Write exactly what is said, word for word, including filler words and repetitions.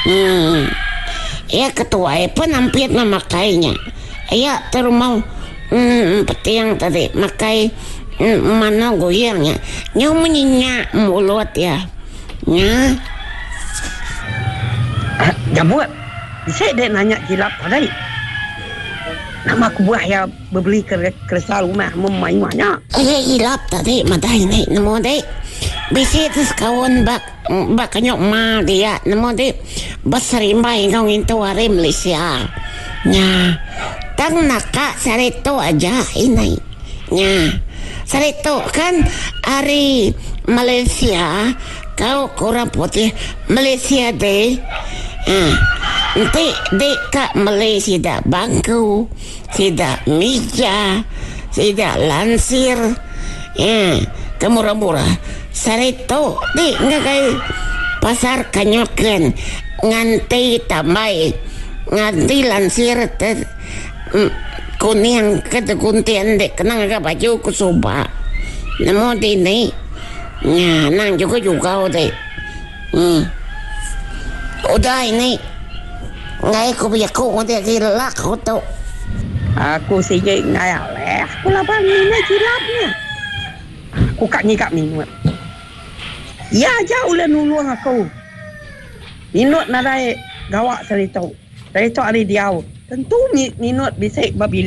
Uhh. Iya ke tuai pun ampit meh makai nya. Iya terumau uhh peting tadi makai manok guyang nya. Nyau menyinya mulut iya. Nya. Jambut, bisi dek nanya jilap tadi. Nama kebuah iya bebeli keresa rumah memayuh nya? Iya jilap tadi madah ini nemu dek. Bisi te sekaun ba ba kenyuk ma dia nemu dek beserimbai enggau ngintu hari Malaysia. Nya. Tang naka sehari tu aja ini. Nya. Sehari tu kan hari Malaysia kau ke orang putih Malaysia Day. Aa enti dik ka meli sida bangku, sida mija, sida lansir aa ke murah-murah. Sehari tu dik ngagai pasar Kanyoken nganti tambai nganti lansir te kuning ke tegunting dik kena ngaga baju ku suba. Nemu dini nya anang jugau-jugau ti. Uhh. Udah ini enggai ku bejaku ngagai agi lelak ku tu. Aku sigi enggai alih ku laban nguna jilap nya. Aku ka ngiga minut. Iya aja ulih nulung aku. Minut nadai gawa saritu. Saritu ari diau tentu minut bisi ba bilik.